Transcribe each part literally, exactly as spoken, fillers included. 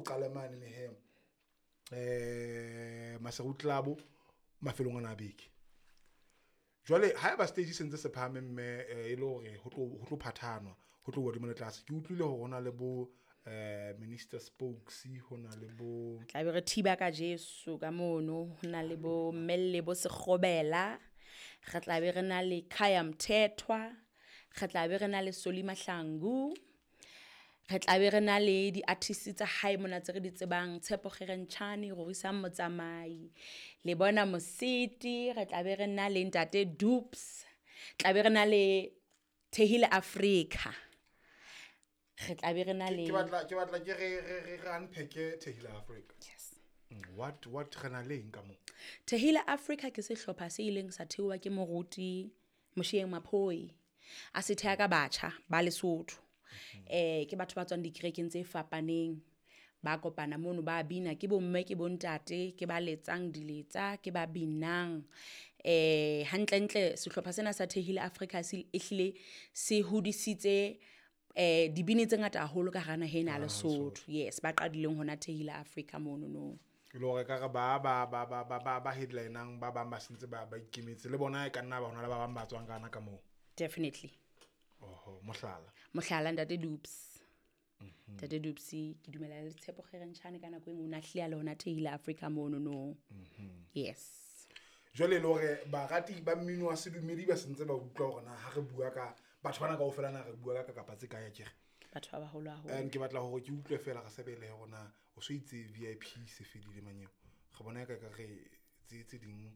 ko qale mane le he eh Maseru Club mafelong ana beke. Jwale ha eba stage se ntse se phahame mme e le hore ho tlo ho tlo phathanwa ho tlo hodimo le tlase ke utlwile hore hona le bo eh Minister Spokes hona le bo tla be re thiba ka Jesu ka mono hona le bo Mmelle bo Sekgobela re tla be re na le Khaya Mthethwa re tla be re na le Soli Mahlangu re tla be re na le di-artists tsa hae mona tse re di tsebang Tshepo Kgerentshane Rorisang Motsamai le bona Mositi re tla be re na le Ntate Dupes tla be re na le Thehile Africa re tla be re na le ke batla ke batla ke re re re unpack Thehile Africa. Yes. What what re na le eng ka mo? Thehile Africa ke sehlopha se ileng sa theowa ke moruti Moshieng Maphoi a se theha ka batjha ba Lesotho. Eh ke batho ba tswang dikerekeng tse fapaneng ba kopana mono ba bina ke bomme ke bontate ke ba letsang diletsa ke ba binang eh hantlentle sehlopha sena sa Thehile Africa se ehlile se hodisitse eh dibini tse ngata haholo ka hara naha ena ya Lesotho. Yes, ba qadileng hona Thehile Africa mono no ke lo re ka re ba ba ba ba ba ba headlinang ba bang ba sentse ba ba ikemetse le bona e ka nna ba hona le ba bang ba tswang kana ka moo. Definitely. Oho, mohlala. Mohlala Ntate Dupes. Ntate Dupes ke dumela le Tshepo Kgerentshane ka nako e nngwe o na hlile le hona Thehile Africa mono no. Yes. Jwale le hore barati ba mmino wa sedumedi ba sentse ba utlwa hore na ha re bua ka batho bana kaofela na re bua ka kapa tse kae akere. Batho ba baholo haholo. And ke batla hore ke utlwe fela re sebele hore na o so itse V I P se fedile manyeo. Re bona ka ka re tse tse ding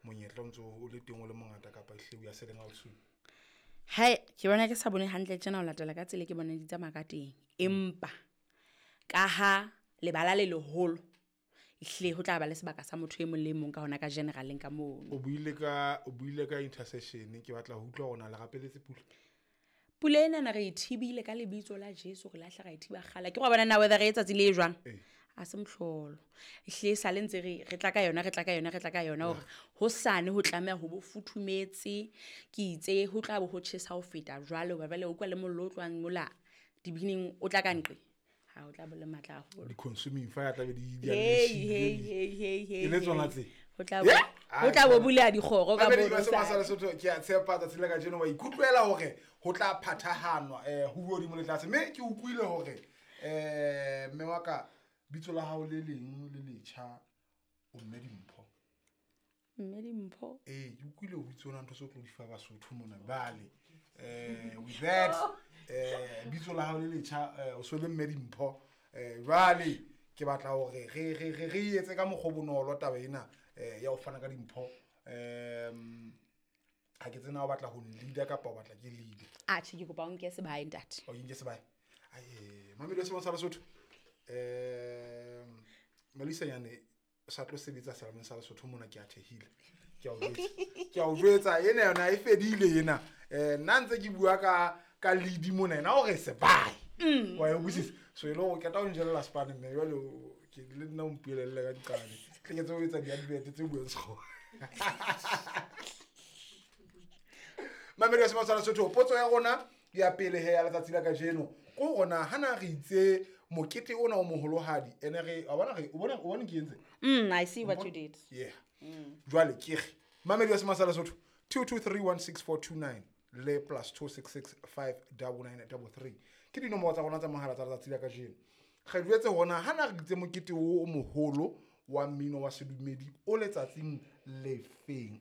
monyetla o ntso o le teng o le mongata kapa ehle o ya selling out soon. Hai ke bona ke sa bone hantle tjena o latela ka tsela ke bona di tsamaya ka teng empa ka ha lebala le leholo ehle ho tla ba le sebaka sa motho e mong le mong ka hona ka generaleng ka mono. O buile ka o buile ka intercession ke batla ho utlwa hore na le rapeletse pula. Pula ena na re e thibile ka lebitso la Jesu re lahla ra e thiba kgala ke go bona na weather re etsatsi le jwang a se mohlolo ehle sa le ntse re re tla ka yona re tla ka yona re tla ka yona hore ho sane ho tlameha ho bo futhumetse ke itse ho tla bo ho tjhesa ho feta jwalo ba bale o kwa le mollo o tlwang mola dibining o tla ka nqe ha o tla bo le matla haholo di consuming fire tla be di di hey hey hey hey le tsona tse ho tla bo ho tla bo bula dikgoro ka bo sa Lesotho ke a tshepa tsatsi la kajeno wa ikutlwela hore ho tla phathahanwa eh ho bua di mo le tlase mme ke utlwile hore eh mme wa ka bitso la hao le leng le letjha o mme Dimpho. Mme Dimpho eh ke utlwile o bitso ona ntho se o tlo di fa Basotho mona bale eh with that eh bitso la hao le letjha o so le mme Dimpho eh jwale ke batla hore re re re re etse ka mokgwa bonolo taba ena eh ya ho fana ka dimpho em ha ke tsena o batla ho leader kapa o batla ke leader. Atjhe ke kopa o nke sebae ntate. O nke sebae. Ai mamelo se sa Lesotho eh Melissa yane sa tlo sebetsa serameng sa Lesotho mona ke a thehile ke a o jwetsa ke a o jwetsa ena yona e fedile ena eh nna ntse ke bua ka ka lead mona ena o re sebae wa e utlwisisa so e le hore ke tla o njella spane mme jwale ke le nna o mpuelelle ka diqane tle ke tse o etsa di-advert tse buang sekgowa. Mamelo se sa Lesotho potso ya rona ya pele he ya letsatsi la kajeno ko rona hana re itse mokete ona o moholohadi ene re a bona re o bona o bona ke entse mm I see what you did. Yeah. Jwale ke re mamelo se sa Lesotho two two three one six four two nine le plus two six six five nine nine three three ke dinomoro tsa rona tsa mohala tsa letsatsi la kajeno re jwetse hona hana re itse mokete o moholo wa mmino wa sedumedi o letsatsing lefeng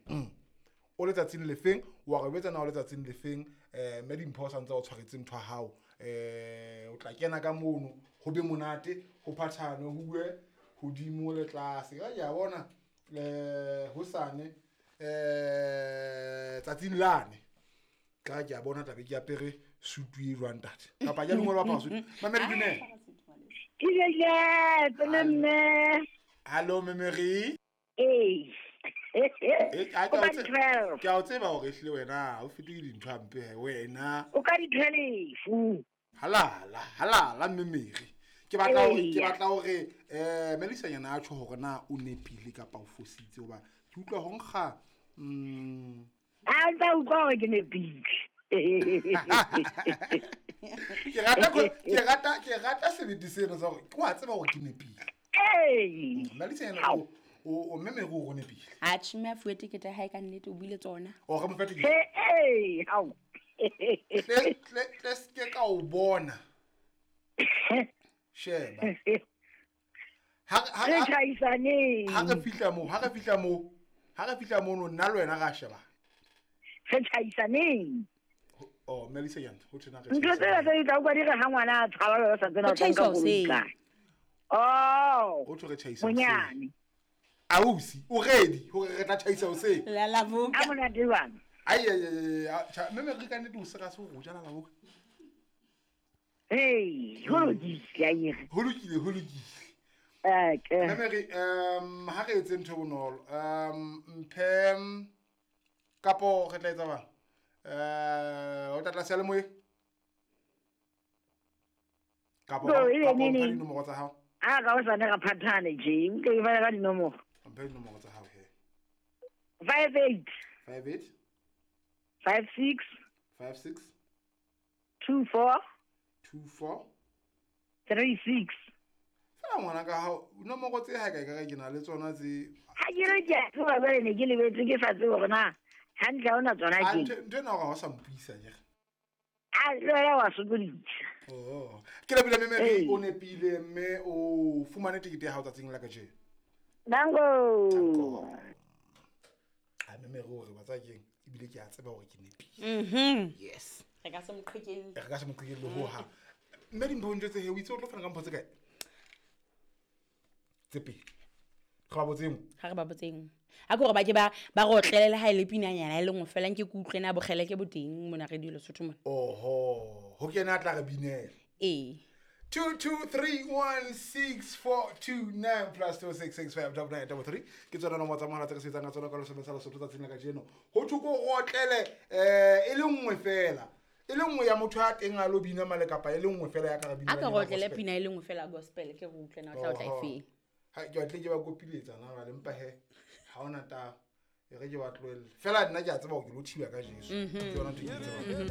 o letsatsing lefeng wa re betsa na o letsatsing lefeng eh mme Dimpho sa ntse o tshwaretse ntho ya hao eh o tla kena ka mono ho be monate ho phathane ho bue hodimo le tlase ka ya bona eh hosane eh tsatsing lane ka ke a bona tlabe ke apere sutu e jwang ntate kapa ke lengolo ba sutu mamedi dumela ke le pele mme hallo Memory eh eh ke a o tseba hore ehlile wena o fetohile dintho hampe wena o ka di twelve halala halala Memory ke batla hore ke batla hore eh Melissa yena a tjho hore na o nepile kapa o fositse hoba ke utlwa ho nkga mm a ntse utlwa hore ke nepile. Ke rata ke rata ke rata sebete seno sa gore ke wa tseba gore ke nepile. Ee. Mmalisa yena o o mme Mary o nepile. Atjhe, mme a fuwe tekete ya hae ka nnete, o buile tsona. O re mo fe tekete. Ee, hao. Tle tle tle se ka o bona. Sheba. Ha ha Re tjhaisaneng. Ha re fihla mo, ha re fihla mo, ha re fihla mono nna le wena ra sheba. Re tjhaisaneng. Oh, Melissa yena, ho thena re. Ntho tsena tse di tla utlwa di re ha ngwana a tshaba ba sa tsena Ho tjhaisa ka hoseng. koloi kae. Oh. Ho thwe re tjhaisa. Monyane. Ausi, o ready hore re tla tjhaisa hoseng? La la boka. A monate jwang? Ai ai ai, mme Mary ka nnete o sera se ho ja la la boka. Hey, ho lokile akere. Ho lokile, ho lokile. Okay. Mme Mary, um ha re etse ntho e bonolo. Um mphe kapo re tla etsa bang? Eh, o tla tla seyalemoyeng? Kapo Bo, e be kapo neng mphe neng? dinomoro tsa hao. A ka hosane ra phathane tje, o tlo e bala ka dinomoro. Mphe dinomoro tsa hao he. Five eight. Five eight. Five six. Five six. Two four. Two four. Three six. Fela ngwana ka hao, nomoro tse ha ka e ka ke na le tsona tse. Ha ke re ke a tseba jwale ne ke lebetse ke sa tsebe hore na hantle ha ona tsona A ke. ntho ntho ena hore ha o sa mpuisa akere. A le wena wa sokodisa. Oh. Ke lebile mme Mary Ee. o nepile mme o fumane tekete ya hao tsatsing la kajeno. Danko. A mme Mary o re wa tseba keng ebile ke a tseba hore ke nepile. Mhm. Yes. Re ka se mo qhekelle. Re ka se mo qhekelle ho hang. Mme Dimpho o ntjwetse he o itse o tlo fana ka mpho tse kae? Tse pedi. Re ba botse e nngwe. Ha re ba botse e nngwe. A ke hore ba ke ba ba re otlele ha e le pinanyana e le nngwe fela nke ke utlwe na bokgeleke bo teng mona Radio Lesotho mona. Oho, ho kena a tla re binela. Ee. Two two three one six four two nine plus two six six five double nine double three. Ke tsona nomoro tsa mohala tse re sebetsang ka tsona ka lesome sa Lesotho tsatsing la kajeno. Ho thwe ko rotlele eh e le nngwe fela. E le nngwe ya motho a teng a lo bina male kapa e le nngwe fela ya ka re bina. A ka rotlele pina e le nngwe fela gospel ke re utlwe na o tla o tla e feng. Ha ke batle ke ba kopiletsa na ba lempa he. Ha ona taba. E re ke ba tlohelle. Fela nna ke a tseba hore ke lo thiba ka Jesu. Ke yona ntho e ke e tsebang.